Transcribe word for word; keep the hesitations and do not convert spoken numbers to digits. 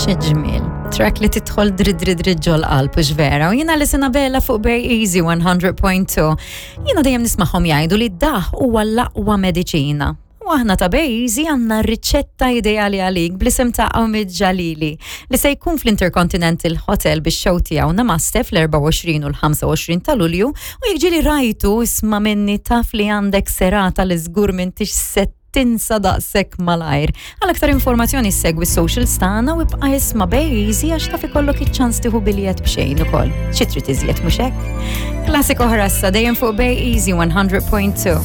Ġmiel. Track li tidħol dri dri dri ġol qalb u vera. U jiena Alison Abela fuq Bay Easy one hundred point two. Jiena dejjem nismagħhom jgħidu li daħk huwa l-aqwa mediċina. U aħna ta' Bay Easy għandna riċetta ideali għalik bl-isem ta' Omid Jalili li se jkun fl-Intercontinental Hotel bix show tiegħu Namaste fl-erbgħa u għoxrin u l-ħamsa u għoxrin ta' Lulju u jekk ġieli rajtu, isma' minni, taf li għandek serata li żgur m'intix se tinsa daqshekk malajr. Għal aktar informazzjoni segwi socials tagħna u ibqa' isma' Bay Easy għax taf ikollok iċ-ċans tieħu biljett b'xejn ukoll. Xi trid iżjed, mhux hekk? Classic oħra issa dejjem fuq Bay Easy one hundred point two.